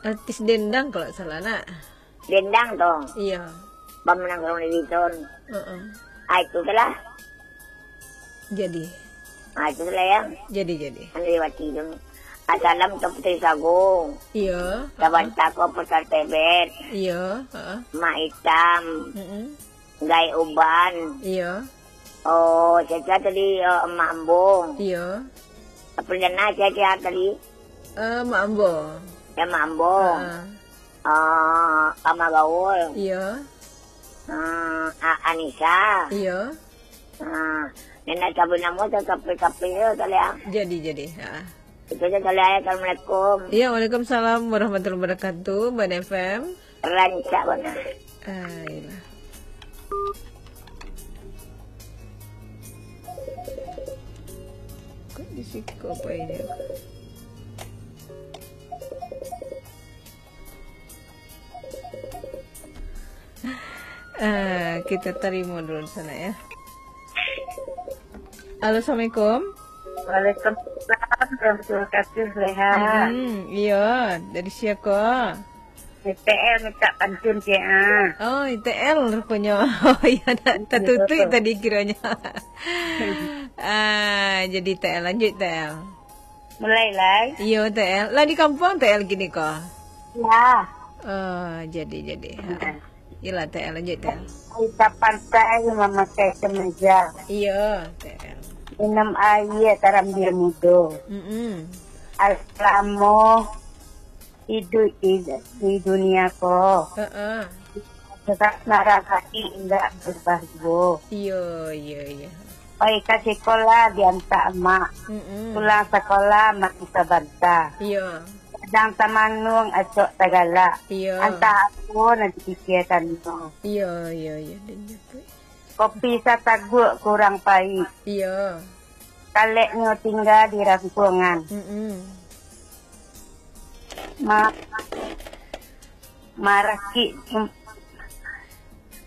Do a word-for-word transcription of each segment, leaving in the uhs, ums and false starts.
Artis Dendang kalau salah, nak. Dendang tu. Iya. Bam nang urang di Biton. Heeh. Ah, itu tu lah. Jadi. Ah, itu tu lah, ya. Jadi, jadi. Santriwati tu. Asalam tu Putri Sago. Iya. Sabanta ko Putra Tebet. Iya, heeh. Mak Itam. Mm-mm. Gai Uban. Iya. Oh, Caca tadi, oh, Emak Ambo. Iya. Perdana Caca tadi. Eh, Mak Ambo. Ya, Mak Ambo. Heeh. Ah, Ama Gaul. Iya. Ah, A-, Anissa. Iya. Ah, nenek sabun namo tu kape-kape tu kali, ah. Jadi, jadi. Ha. Itu saja kali, ah. Assalamualaikum. Iya, waalaikumsalam warahmatullahi wabarakatuh, Ban F M. Rancak bana. Ah, iyalah. Kok di siko apa ini? Ah, kita tarimo dulu di sana, ya. Halo, assalamualaikum. Waalaikumsalam, terima kasih, Leha. Hmm, iya, dari siapa? I T L minta pantun, Cik, ah. Oh, I T L rupanya. Oh, iya, nak tatutuik tadi kiranya. Ah, jadi I T L, lanjut, I T L. Mulai, lai. Iyo, T L. Lah di kampuang, T L, kini ko? Lah. Oh, jadi, jadi. Ha. Nah. Iyolah, T L, lanjut, T L. Kita pantai mamakai kemeja. Iyo, T L. Minum aia tarambil mudo. Mm-mm. Alamo iduik di, di dunia ko. Heeh. Tetap marah hati indak berubah juo. Iyo, iyo, iyo. Pai ka sikolah diantak amak. Mm-mm. Pulang sakolah mati sabanta. Iyo. Kadang tamanung acok tagalak. Iyo. Antah apo nan dipikiakan nyo. Iyo, iyo, iyo. Kopi sataguak kurang paik. Iyo. Kaleknyo tingga di rangkuangan. Mm-mm. Ma-, marakik,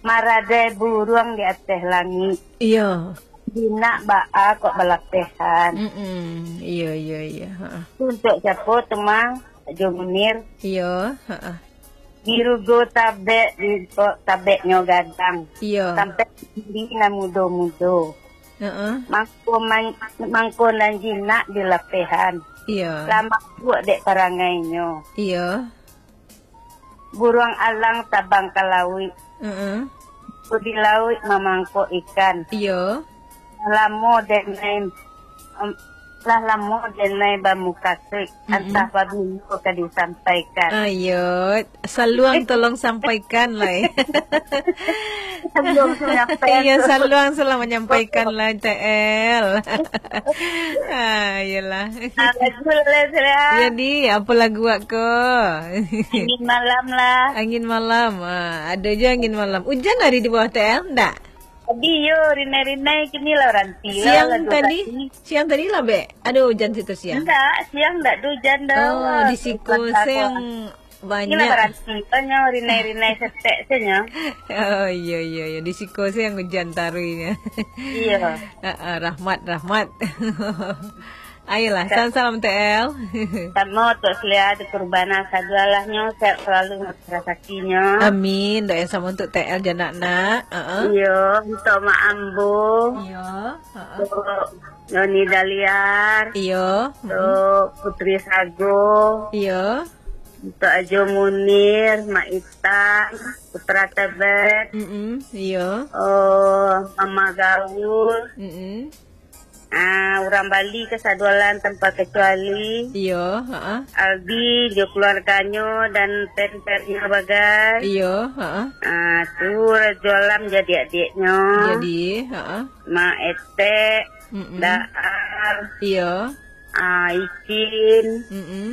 maradai buruang di ateh langik. Iyo. Jinak baa kok balapehan. Mm-mm. Iyo, iyo, iyo. Ha. Untuak siapo tu, Mang? Jo Munir. Iyo, ha. Dirugo tabek, di, kok tabeknyo gadang. Iyo. Sampai diri nan mudo-mudo. Heeh. Mangko man-, mangko nan jinak di lapehan. Iyo. Lah mabuk dek parangainyo. Iyo. Buruang alang tabang ka lauik. Heeh. Di lauik mamangkok ikan. Iyo. Lamo denai, em, lah lamo denai bamukasuik, mm-mm, antah pabilo ka disampaikan. Ayo, Saluang tolong sampaikan lah, eh. Saluang sudah menyampaikan. Iya, tu. Saluang sudah menyampaikan lah, T L. Ah, iyalah. Ah, lagu lah, Sila. Jadi, apa lagu awak ko? Angin Malam lah. Angin Malam. Ah, ada je Angin Malam. Hujan hari di bawah, T L, ndak? Tadi yo, rinai-rinai, kini lah ranti lah. Siang lagu tadi? Tadi. Siang tadi lah, Bek? Ada hujan situ siang? Ndak, siang ndak ada hujan dah. Oh, wah, di siko siang banyak. Inilah baranti, banyak rinai-rinai setek saja. Oh, iya, iya, iya. Di siko siang hujan taruinya. Iya. Ah, ah, rahmat, rahmat. Ayolah, salam-salam, T L. Samo, Tok Selia, di Kurbana, sadualahnyo, sehat selalu, murah rasakinyo. Amin. Doa yang sama untuk TL, janak nak. Heeh. Iyo, untuk Mak Ambo. Iyo, heeh. Untuk Noni Daliar. Iyo. Untuk Putri Sago. Iyo. Untuk Ajo Munir, Mak Itan, Putra Tebet. Mm-mm, iyo. Oh, Mama Gaul. Mm-mm. Ah, urang Bali kasadualan tanpa kecuali. Iyo, heeh. Aldi jo keluarganyo dan pen-pennyo bagai. Iyo, heeh. Ah, tu Rajo Alam jadi adiaknyo. Jadi, heeh. Mak Etek, mm-mm, Daar. Iyo. Ah, Icin. Mm-mm.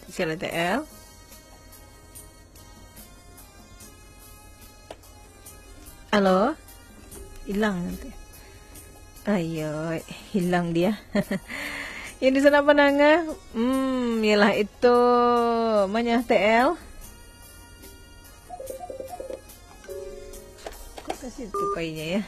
Sila T L. Halo? Hilang nanti. Ayo, hilang dia. Yang di sana apa nanga? Hmm, ialah itu. Mana T L? Kok ke situ painya ya?